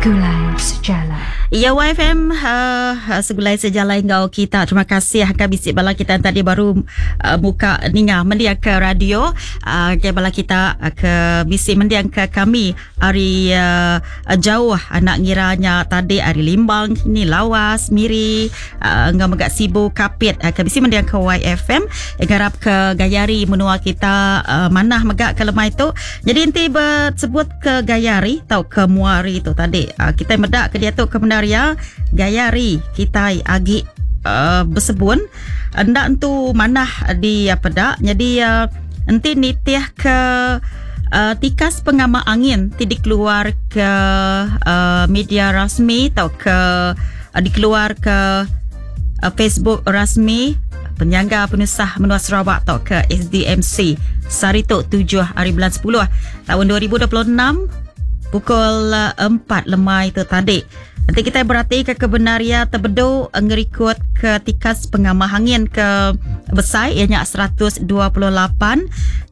Segulai Sejalai. Ya YFM uh, segulai sejalai enggau kita. Terima kasih akan bisi bala kita tadi baru uh, buka ninga mendiang ke radio uh, ke bala kita ke bisi mendiang ke kami hari jauh anak ngiranya tadi hari Limbang ni Lawas Miri enggau mega Sibu Kapit ke bisi mendiang ke YFM ngarap ke gayari menua kita manah mega ke lemai tu. Jadi enti bersebut ke gayari atau ke muari tu tadi kita medak ke dia tu ke benar ya gayari kita agi bersebun ndak entu manah di apa dak. Jadi enti nitih ke tikas pengamak angin ti dikeluar ke media rasmi atau ke dikeluar ke Facebook rasmi Penyangga Penusah Menua Sarawak atau ke SDMC sehari tu 7 hari bulan 10 tahun 2026 pukul 4 lemai tu tadi. Nanti kita berarti ke kebenaria terbedu ngerikut ke tikas pengamah angin ke besar ianya 128.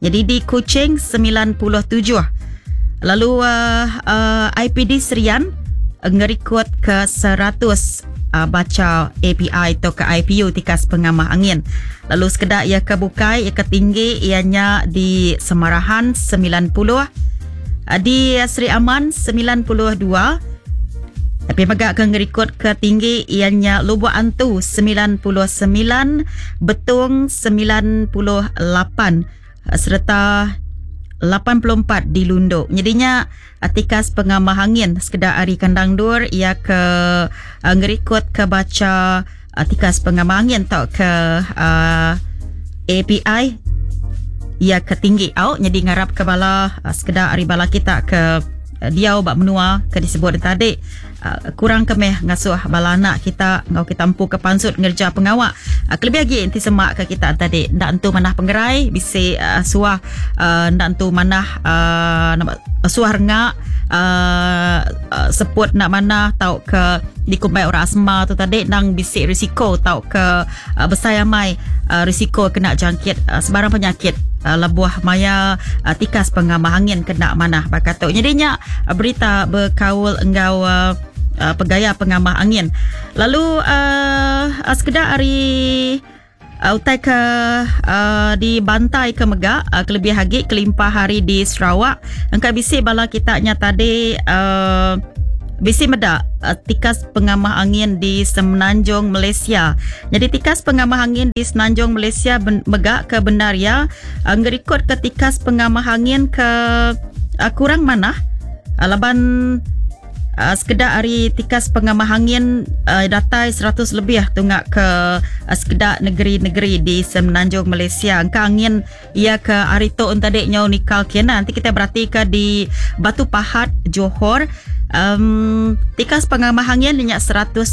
Jadi di Kuching 97. Lalu IPD Serian ngerikut ke 100 baca API atau ke IPU tikas pengamah angin. Lalu sekedak ia ke bukai ia ke tinggi ianya di Semarahan 90, di Sri Aman 92. Tapi megak ke ngerikut ke tinggi ianya Lubuk Antu 99, Betung 98 serta 84 di Lunduk. Jadinya tikas pengamah angin sekedar hari kandang dur ia ke ngerikut ke baca tikas pengamah angin atau ke API ia ke tinggi au. Jadi ngarap ke bala sekedar hari bala kita ke diau bak menua ke disebut tadi kurang ke meh ngasuh bala anak kita ngau kita empu ke pansut ngerja pengawak kelebih lagi enti semak ke kita tadi ndak entu manah pengerai bisi suah ndak entu manah suah rengak seput nak mana tau ke dikumbai orang asma tu tadi nang bisi risiko tau ke besai amai risiko kena jangkit sebarang penyakit lebuh maya tikas pengamah angin kena manah bakatuk. Jadinya berita berkaul engau pegaya pengamah angin. Lalu sekedar hari utai ke dibantai ke megak kelebih lagi kelimpah hari di Sarawak engkau bisi bala kita nya tadi bisi medak tikas pengamah angin di Semenanjung Malaysia. Jadi tikas pengamah angin di Semenanjung Malaysia megak ke benar ya ngerikut ke tikas pengamah angin ke kurang manah laban sekedar hari tikas pengamah angin datai 100 lebih tunggak ke sekedar negeri-negeri di Semenanjung Malaysia. Engka angin ia ke hari tu tadi nyau nikal kena. Nanti kita berarti ke di Batu Pahat, Johor. Tikas pengamah angin minyak 119.